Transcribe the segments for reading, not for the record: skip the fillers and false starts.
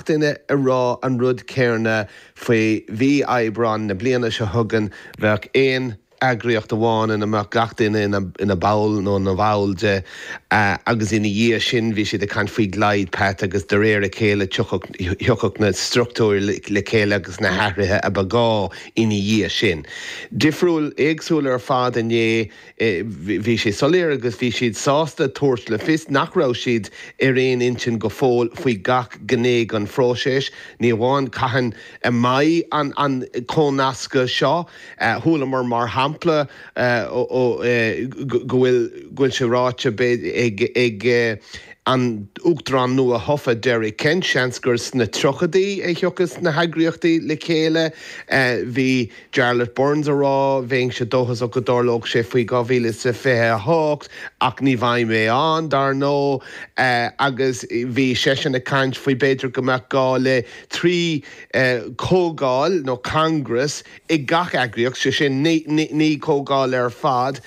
gach duine ag rá an rud céarna faoi mhí Aibreáin na bliana seo chugainn, bheadh aon eagraíocht amháin ina mbeadh gach duine ina ball nó ina bhall de agus ina dhiaidh sin bhí siad ag caint faoi glide path agus de réir a chéile thiocfadh na struchtúir le chéile agus na hathruithe a ba ghá ina dhiaidh sin. Difriúil, éagsúil ar fad inné. Bhí sé soiléir agus bhí siad sásta tabhairt le fios nach raibh siad ar aon intinn go fóill faoi gach gné den phróiseas, ní amháin cathain a mbeidh an comhnascadh seo. Chualamar mar shampla go bhfuil sé ráite ag an Uachtarán nua-thofa Derek Kent, seans gur sna tríochaidí a thiocfas na heagraíochtaí le chéile. Bhí Jarlath Burns a rá, bheinnse dóchasach go dtarlódh sé faoi 2028, ach ní bheidh mé ann, dar ndóigh, agus bhí seisean ag caint faoi b'fhéidir go mbeadh gá le 3 comhdháil nó congress i gach eagraíocht, sé sin, 9 comhdháil ar fad.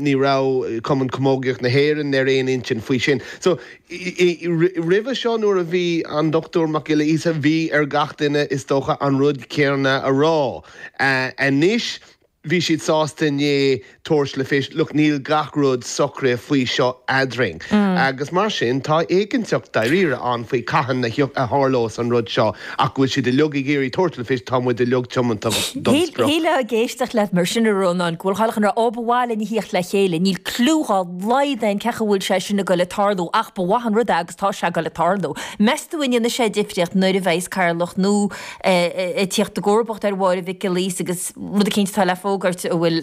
Ní raibh Cumann Camógaíocht na hÉireann ar aon intinn faoi sin. So, Roimhe seo nuair a bhí an Dr Mac Giolla Íosa, bhí ar gach duine is dócha an rud céanna a rá. Anois bhí siad sásta inné tabhairt le fios, look níl gach rud socraithe faoi seo eadrainn. Agus mar sin tá éiginnteacht dáiríre ann faoi cathain a tharlós an rud seo ach go bhfuil siad uilig ag iarraidh tabhairt le fios tá muid uilig tiomanta don sprioc. Shílfeá ag éisteacht leat mar sin a Rónáin go bhfuil chuile dhuine ag rá ó ba mhaith linn a thíocht le chéile, níl cliú dhá laghad againn cén chaoi a bhfuil sé sin ag goil ag tarlú ach ba mhaith an rud é agus tá sé ag goil ag tarlú. Meas tú an ndéanfaidh sé difríocht nuair a bheidhs cathaoirleach nua ag tíocht i gcomharbacht ar Mháire Mhic Giolla Íosa agus rud eicínt atá le fógairt a bhfuil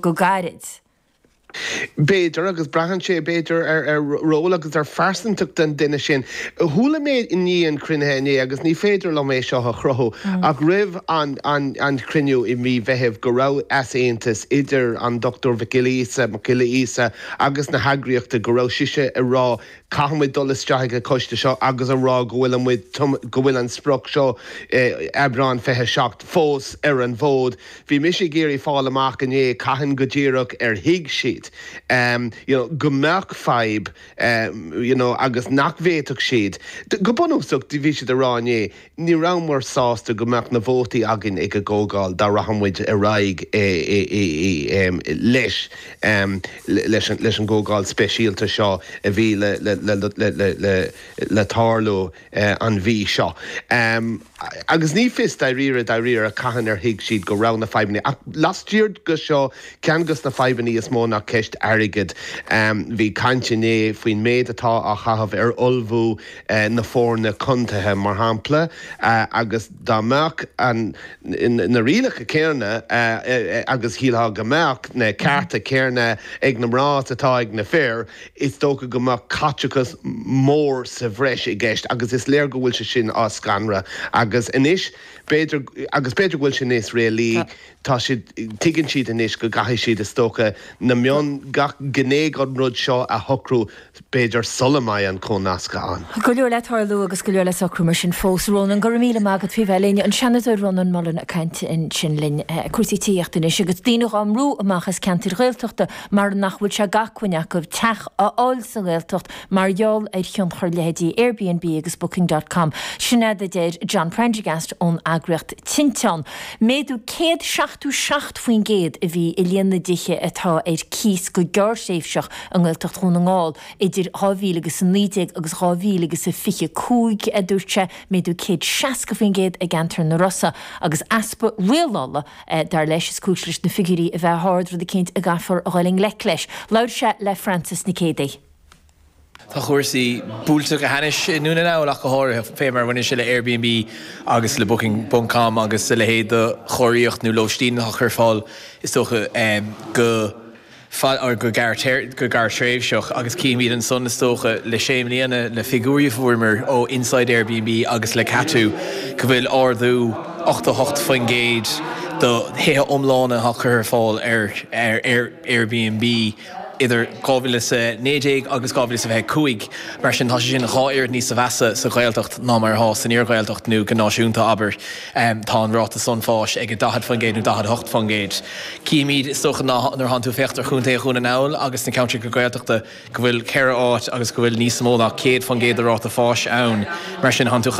go gairid? B'fhéidir, agus braitheann sé, b'fhéidir, ar ról agus ar phearsantacht an duine sin. Chuala mé i ndiaidh an chruinnithe inné, agus ní féidir liom é seo a chruthú, ach roimh an chruinniú i mí Mheithimh go raibh easaontas idir an Dr Mhic Giolla Íosa, Mac Giolla Íosa agus na heagraíochta, go raibh sise ag rá caithfidh muid dul isteach ag an choiste seo agus a rá go bhfuil muid, go bhfuil an sprioc seo, Aibreán 27, fós ar an bhfód. Bhí mise ag iarraidh fáil amach inné cathain go díreach ar thuig siad you know go mbeadh fadhb you know agus nach bhféadfadh siad, go bunúsach bhí siad ag rá inné, ní rabhamar sásta go mbeadh na vótaí againn ag an gcomhdháil dá rachadh muid ar aghaidh leis leis an gcomhdháil speisialta seo a bhí le le tarlú an mhí seo. Agus ní fios dáiríre dáiríre cathain ar thuig siad go raibh na fadhbanna ach laistiar de seo ceann de na fadhbanna is mó ná ceist airgid. Bhí caint inné faoin méid atá á chaitheamh ar ullmhú na foirne contaetha, mar shampla, agus dá mbeadh na rialacha céanna, agus shílfeá go mbeadh, na cearta céanna ag na mná is atá ag na fir, is dócha go mbeadh caiteachas mór sa bhreis i gceist agus is léir go bhfuil sé sin á scanradh agus anois, b'fhéidir, agus b'fhéidir go bhfuil sé níos réalaí, Tá siad, tuigeann siad anois go gcaithfidh siad, is dócha, na mion, gach gné den rud seo a shocrú, b'fhéidir, sula mbeidh an cónascadh ann. Go leor le tarlú agus go leor le socrú mar sin fós. Rónán, go raibh míle maith agat faoi bheith linn. An Seanadóir Rónán Mullen ag caint ansin linn. Cúrsaí tithíochta anois agus daoine dhá mbrú amach as ceantair Ghaeltachta mar nach bhfuil sé d'acmhainn acu teach a fháil sa nGaeltacht mar gheall ar thionchar leithéidí Airbnb agus Booking dot com. Sin é a deir John Prendergast ón eagraíocht Tinteán. Méadú 177% a bhí i líon na dtithe atá ar cíos go gearrthréimhseach i nGaeltacht Dhún na nGall idir 2019 agus 2025, a dúirt sé, méadú 160% i gceantar na Rosa agus easpa rialála, dar leis, is cúis leis na figiúirí a bheith ard, rud eicínt a gcaithfear a dhul i ngleic leis. Labhair sé le Frances Nic Géadaigh. Tá cúrsaí buailte go hainnis i nDún na nGall ach go háirithe, fé mar a bhaineann sé le Airbnb agus le Booking ponc com agus a leithéid de chóiríocht nó lóistín atá curtha ar fáil is dócha go go gearrthréimhseach agus cífimid ansan is dócha le sé mbliana le figiúirí a fuaireamar ó Inside Airbnb agus le Catú go bhfuil ardú 88% do thithe iomlána atá curtha ar fáil ar Airbnb. idir 2019 agus 2025. Mar sin, tá sé sin dhá oiread níosa mheasa sa Ghaeltacht ná mar atá san iarGhaeltacht nó go náisiúnta, abair. Tá an ráta san fáis ag 40% nó 48%. Cífimid, is dócha, ná nuair atánn tú ag féachaint ar Chontae Dhún na nGall agus na ceantracha Gaeltachta go bhfuil ceithre áit agus go bhfuil níos mó ná 100% de ráta fáis ann. Mar sin, tánn tú ag caint.